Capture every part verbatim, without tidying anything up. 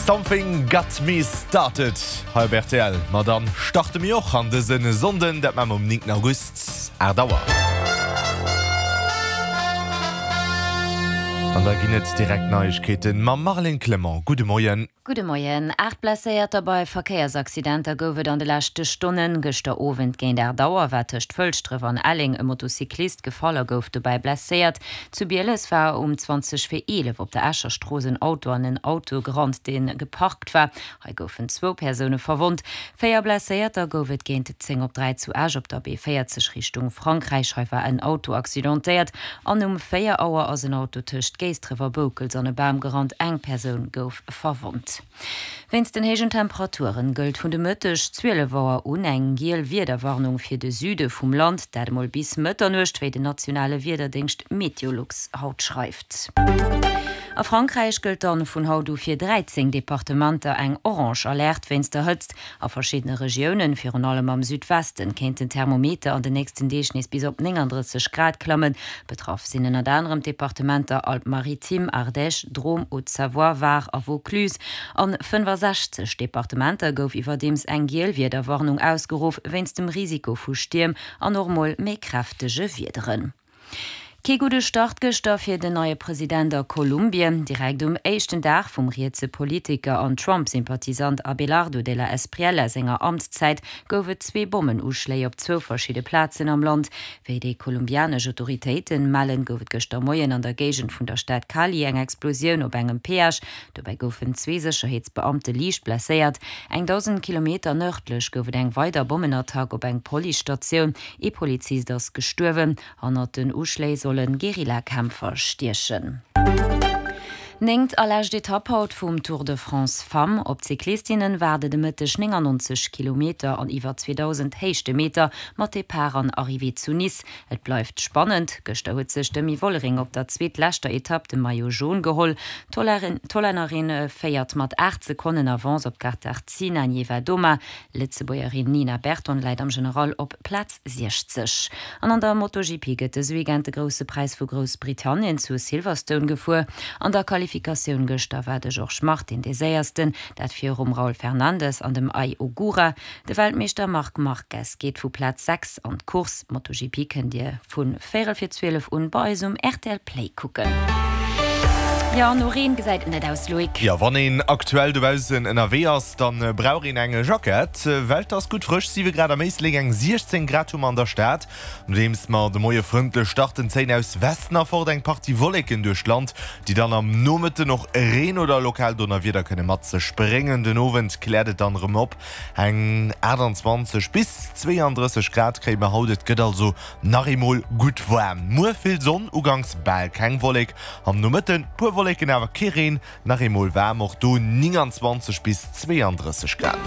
Something Got Me Started hei op rtl. Ma dann starte mir och an dëse Sonnden, dat maache mer um néngten August, aacht Auer. An da ginn et direkt Neiegkeeten mam Marlène Clement. Gudde Moien. Gudde Moien. Aacht Blesséierter bei Verkéiersaccidenter gouf et an de leschte Stonnen. Gëschter Owend géint aacht Auer war tëscht Fëlschdref an Elleng e Motocyclist gefall a gouf dobäi blesséiert. Zu Bieles war um zwanzeg vir eelef op der Escher Strooss en Auto an en Auto gerannt, dee geparkt war. Hei goufen zwou Persoune verwonnt. Véier Blesséierter gouf et géint zéng op dräi zu Esch op der B véierzeg Richtung Frankräich. Hei war en Auto accidentéiert an um véier Auer ass en Auto tëscht Géisdref a Boukels an e Bam gerannt. Eng Persoun gouf verwonnt. Wéinst den héijen Temperaturen gëllt vun de Mëtteg zwielef Auer un eng giel Wiederwarnung fir de Süde vum Land, dat emol bis Mëtternuecht, wéi den nationale Wiederdéngscht Meteolux haut schreift. A Frankräich gëllt dann vun haut u fir dräizéng Departementer eng orange Alerte wéinst der Hëtzt. A verschiddene Regiounen, virun allem am Südwesten, kéint den Thermometer an den nächsten Deeg nees bis op nénganddrësseg Grad klammen. Betraff sinn ënnert anerem d'Departementer Alpes-Maritimes, Ardèche, Drôme, Haute-Savoie, Var a Vaucluse. An fënnefasechzeg Departementer gouf iwwerdeems eng giel Wiederwarnung ausgeruff, wéinst dem Risiko vu Stierm an och mol méi kräftege Wiederen. Kee gudde Start gëschter fir den neie President a Kolumbien. Direkt um éischten Dag vum rietse Politiker an Trump-Sympathisant Abelardo de la Espriella senger Amtszäit gouf et zwee Bommenuschléi op zwou verschidde Plazen am Land. Wéi déi kolumbianesch Autoritéite mellen, gouf et gëschter Moien an der Géigend vun der Stad Cali eng Explosioun op engem Peage. Dobäi goufen zwee Sécherheetsbeamte liicht blesséiert. Eng dausend Kilometer nërdlech gouf et eng weider Bommenattack op eng Policestatioun. Ee Polizist ass gestuerwen. Hannert den Uschléi solle Guerillakämpfer stiechen. Néngt a lescht Etapp haut vum Tour de France Femmes. Op d'Cyclistinnen waarde de Mëtteg néngannonzeg Kilometer an iwwer zweedausend Héichtemeter mat Depart an Arrivée zu Nice. Et bleift spannend. Gëschter huet sech d'Demi Vollering op der zweetleschter Etapp de Maillot Jaune geholl. D'Hollännerin féiert mat aacht Sekonnen Avance op d'Katarzyna Niewiadoma. D'Lëtzebuergerin Nina Berton läit am General op Plaz siechzeg. An an der MotoGP gëtt dëse Weekend de Grousse Präis vu Groussbritannien zu Silverstone gefuer. An der Qualifikatioun gëschter war de Jorge Martin dee Séiersten, dat virum Raul Fernandez an dem Ai Ogura. De Weltmeeschter Marc Marquez geet vu Plaz sechs an d'Course. MotoGP kënnt Dir vu véierel vir zwielef un bei eis um rtl Play kucken. Jo, no Reen gesäit et net aus, Loïc. Jo, wann een aktuell dobaussen ënnerwee ass, dann brauch een eng Jackett, well et ass gutt frësch, siwe Grad am Éislek, eng siechzéng Grad hu mer an der Stad. Nodeems mer de Moie frëndlech starten, zéien aus Westen erfort eng Partie Wolleken duerch d'Land, déi dann am Nomëtten och Reen oder lokal Donnerwieder kënne mat sech bréngen. Den Owend kläert et dann erëm op, eng aachtanzwanzeg bis zweeandrësseg Grad kréie mer haut, et gëtt also nach eemol gutt waarm. Muer vill Sonn, uganks bal keng Wollek, am Nomëtten puer Wolleken awer kee Reen, nach eemol waarm, och do nénganzwanzeg bis zweeandrësseg Grad.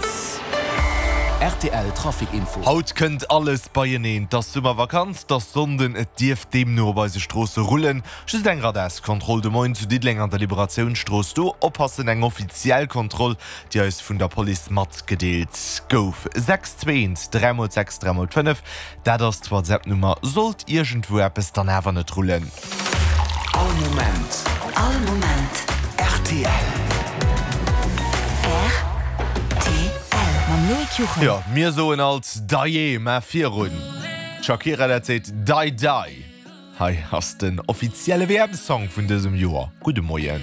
Rtl Trafic Info. Haut kënnt alles beieneen, 't ass Summervakanz, 't ass Sonnden, et dierf deemno op eise Stroosse rullen. Just eng Radarskontroll de Moien zu Diddeleng an der Liberatiounsstrooss, do oppassen, eng offiziell Kontroll, déi eis vun der Police matgedeelt gouf. Sechs zwee eent dräi mol sechs dräi mol fënnef, dat ass d'WhatsApp-Nummer, sollt iergendwou eppes dann awer net rullen. All Moment. All Moment. Rtl. Rtl. Mam Loïc Juchem. Jo, mir soen alt Dajee, mä virun d'Shakira dat seet Dai Dai. Hei ass den offizielle W M-Song vun dësem Joer. Gudde Moien.